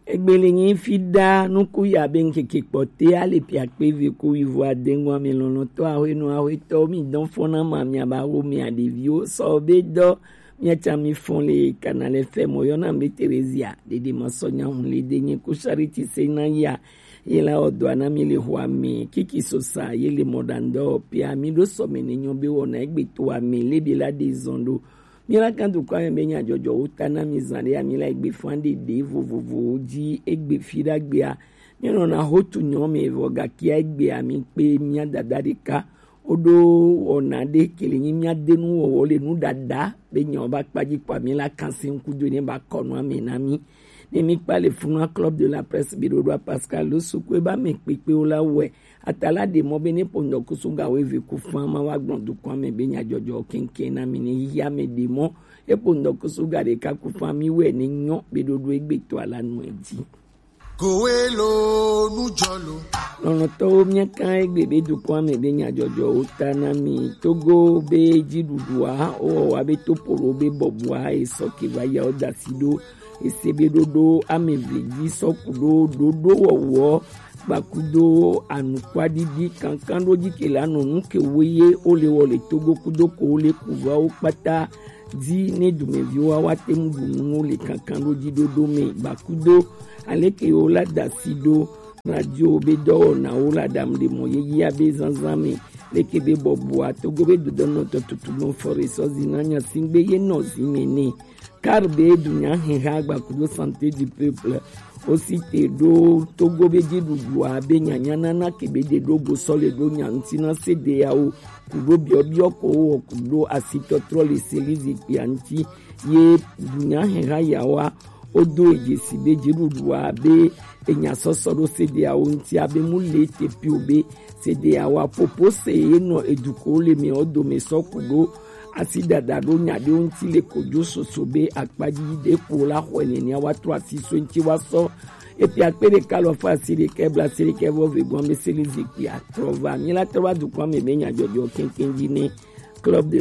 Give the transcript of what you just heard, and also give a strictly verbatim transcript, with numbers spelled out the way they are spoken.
Egbele nyi fi da nuku ya be nkeke kpɔte ale pia kpe ve ku wivo adengua mi lɔlɔtɔ ahwenu ahwetɔ mi dɔn fɔna ma mi aba wo mi adeviwo sɔ be dɔ mi atsa mi fɔn le kana le fɛ mɔ yɔna be Terezia dede ma sɔ nya hun le de nyi ku Charity se na ya ye la ɔdɔ ana mi le hua mi kiki sosa ye le mɔ dandɔ pia mi do sɔ mi ne nyɔ be wɔna egbe to ami le bi la de zɔn do. Míela kan dukɔa me be nyadzɔdzɔwo ta na mi zã ɖe ami la egbe fã ɖeɖe vovovowo dzi egbe fi ɖagbea. Míenɔna hotu nyɔ me vɔ gakia egbea mi kpe mía dada ɖeka woɖo wɔna ɖe kele nyi mía de nu wɔwɔ le nu ɖaɖa be nyawo ba kpa dzi kpɔa mi la kan se ŋku do ne ba kɔ nua me na mi. Ne mi kpa le funua Club de la Presse be ɖoɖoa Pascal lo sukue ba me kpekpewo la wɛ Atala ɖe mɔ be ne ƒo ŋdɔkusu ga woeve ku fã ma wa gblɔ dukɔa me be nyadzɔdzɔ keŋkeŋ na mi ne xixia me ɖe mɔ. Eƒo ŋdɔkusu ga ɖeka ku fã mi wɛ ne nyɔ be ɖoɖo egbe to ala nu edzi. Kowe lo nu dzɔ lo. Lɔlɔtɔwo míaka egbe be dukɔa me be nyadzɔdzɔwo ta na mi. Togo be dziɖuɖua wowɔ wa be topo ɖo be bɔbɔa esɔ ke va ya wo da asi ɖo. Ese be ɖoɖo ame eve dzi sɔ ku ɖo ɖoɖo wɔwɔ gbakudo anukwaɖiɖi kankanɖoji ke la nɔ nu ke wo ye wo le wɔ le Togo kudo ko wo le kuvawo kpata dzi ne dumeviwo wa wa te mu ɖu nuwo le kankanɖoji ɖoɖo me gbakudo aleke wo la da asi ɖo radio be dɔwɔnawo la ɖam ɖe mɔ yeyea be zazã me leke be bɔbɔa Togo be dodɔnɔtɔ tutu nɔ fɔ ɖe sɔ zi na nya si gbe ye nɔ zi me ne. Kar be dunya heha gbakudo santé du peuple. Osi te ɖo Togo be dziɖuɖua be nyanya nana ke be de ɖo go sɔ le ɖo nya ŋuti na sedeyawo kuɖo biɔbiɔ ko wɔ kuɖo asitɔtrɔ le seli zikpia ŋuti ye dunya heha yawa wodo edzesi be dziɖuɖua be enya sɔsɔ ɖo sedeyawo ŋuti abe mu le te pio be sedeyawa popo se ye nɔ eduko le me wo dome sɔ kuɖo asi dada ɖo nya ɖewo ŋuti le kojo soso be akpadzi ɖe ko la xɔe nenia wa trɔ asi so ŋuti wa sɔ epi akpe ɖeka lɔ fa asi ɖeka ebla asi ɖeka vɔ ve gɔme seli zikpui atrɔ va mi la trɔ va dukɔa me be nyadzɔdzɔ keŋkeŋ dzi ne Club de